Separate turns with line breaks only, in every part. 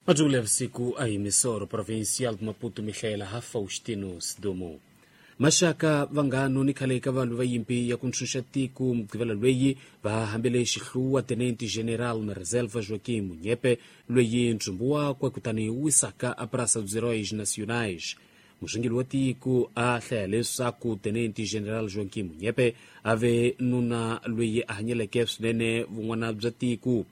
Majungula ya vusiku a hi Misoro, Provincial de Maputo, Mihlaela ha Faustino Sidumo. Maxaka, vanghano ni khale ka valwi va yimpi ya ku ntshunxa tiko Mugqivela lweyi va hambele xihluwa Tenente General na Reserva Joaquim Munyepe, lweyi ntsumbu wakwe kutani wu wisaka a Praça dos Heróis Nacionais. Musunguli wa tiko a hlaya leswaku Tenente General Joaquim Munyepe a ve nuna lweyi a hanyeleke swinene vun'wana bya tiko.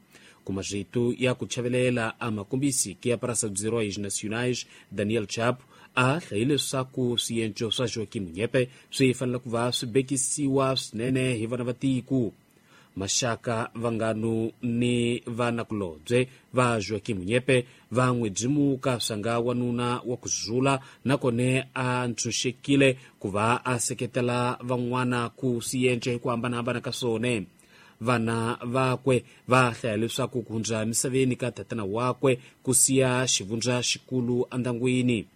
Kuma rito ya ku chavelela a makombisiki ya Praça dos Heróis Nacionais, Daniel Chapo a hlayi leswaku swienco swa Joaquim Munyepe swi fanele ku va swi bekisiwa swinene hi vana va tiko. Maxaka, vanghano ni vanakulobye va Joaquim Munyepe va n'wi byimuka swanga wanuna wa ku zula, nakone a ntshunxekile ku va a seketela van'wana ku swienco hi ku hambanahambana ka swona. Vana vakwe va hlaya leswaku ku hundza misaveni ka tatana wakwe ku siya xivundza xikulu endyangwini.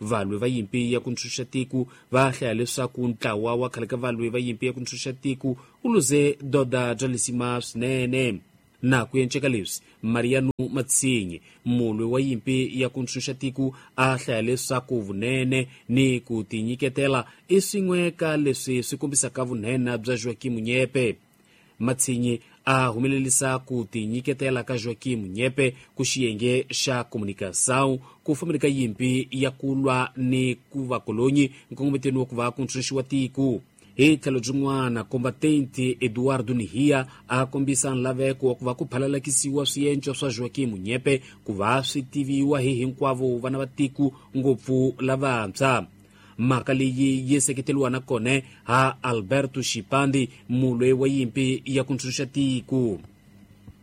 Valwi va yimpi ya ku ntshunxa tiko va hlaya leswaku ntlawa wa khale ka valwi va yimpi ya ku ntshunxa tiko wu luze doda bya lisima swinene. Na ku enceka leswi, Mariano Matsinyi, mulwi wa yimpi ya ku ntshunxa tiko, a hlaya leswaku vunene ni ku tinyiketela i swin'we ka leswi swi kombisaka vunhena bya Joaquim Munyepe. Matsinyi a humelerisa ku tinyiketela ka Joaquim Munyepe ku xiyenge xa comunicação ku fambeni ka yimpi ya ku lwa ni ku vakolonyi nkongometeni wa ku va ku ntshunxiwa tiko. Hi tlhelo byin'wana, combatente Eduardo Nihia a kombisa nlaveko wa ku va ku phalalakisiwa swienco swa Joaquim Munyepe ku va swi tiviwa hi hinkwavo vana va tiko, ngopfu lavantshwa. Mhaka leyi yi seketeriwa na kone ha Alberto Xipandi, mulwe wa yimpi ya ku ntshunxa tiko.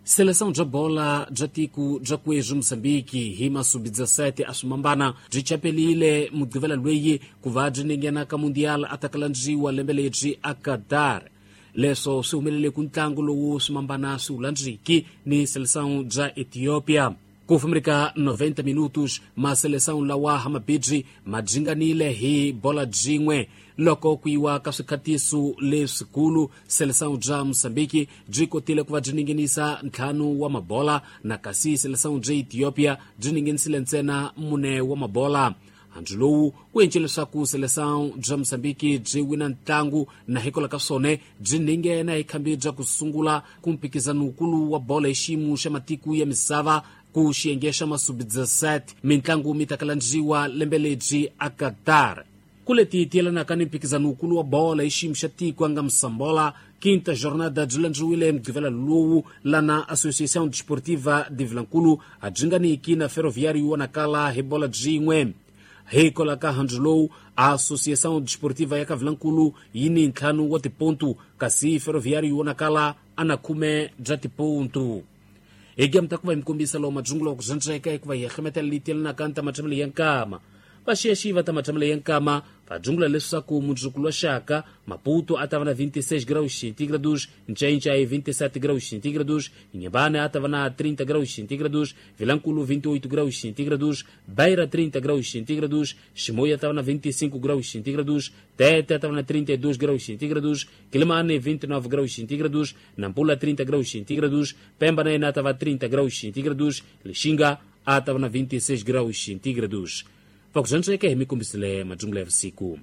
Seleção bya bola bya tiko bya kwezwi Mozambiki hi masubi 17 a swimambana byi chapelile Mugqivela lweyi ku va byi ninghena ka Mundial a ta kalandziwa lembe lebyi a Qatar. Leswo swi humelele ku ntlangu lowu swimambana swi wu landziki ni seleção bya Ethiopia. Ku fambeni ka 90 minutos, maseleção lawa hamabibyi ma dzinganile hi bola byin'we. Loko ku yiwa ka swikhatiso leswikulu, seleção bya Mozambiki byi kotile ku va byi ninginisa 5 wa mabola, na kasi seleção bya Ethiopia byi ninginisile ntsena 4 wa mabola. Handzu lowu wu endle leswaku seleção bya Mozambiki byi wina ntlangu, na hikwalaho ka swona byi ninghena hi khambi bya ku sungula ku mphikizanokulu wa bola hi xiyimo xa matiko ya misava ku xiyenge xa masubi 17. Mintlangu mi ta kalandziwa lembe lebyi a Qatar. Ku leti tiyelanaka ni mphikizanokulu wa bola hi xiyimo xa tiko a nga Msambola, quinta jornada byi landziwile Mugqivela lowu, lana Associação Desportiva de Vilankulu a byi nga niki na Ferroviário vonakala hi bola byin'we. Hikwalaho ka handzu lowu, Associação Desportiva ya ka Vilankulu yi ni 5 wa tipontu, kasi Ferroviário vonakala a na 10 bya tipontu. Hi gem ta ku va hi mi kombisa lowu madzungulo wa ku zwandzeka hikuva hi hehlemetela leyi tiyelanaka ni ta matshemelo ya nkama. Vaxiyaxiyi va ta matshemelo ya nkama va dzungula leswaku mundzuku wa xaka Maputo a ta va na 26 graus centígrados, Nchainchai 27 graus centígrados, Inhambane a ta va na 30 graus centígrados, Vilankulo 28 graus centígrados, Beira 30 graus centígrados, Chimoio a ta va na 25 graus centígrados, Tete a ta va na 32 graus centígrados, Quelimane 29 graus centígrados, Nampula 30 graus centígrados, Pemba na a ta va 30 graus centígrados, Lixinga a ta va na 26 graus centígrados. Vakuzvantsveke hi mikombisile madzungula ya vusiku.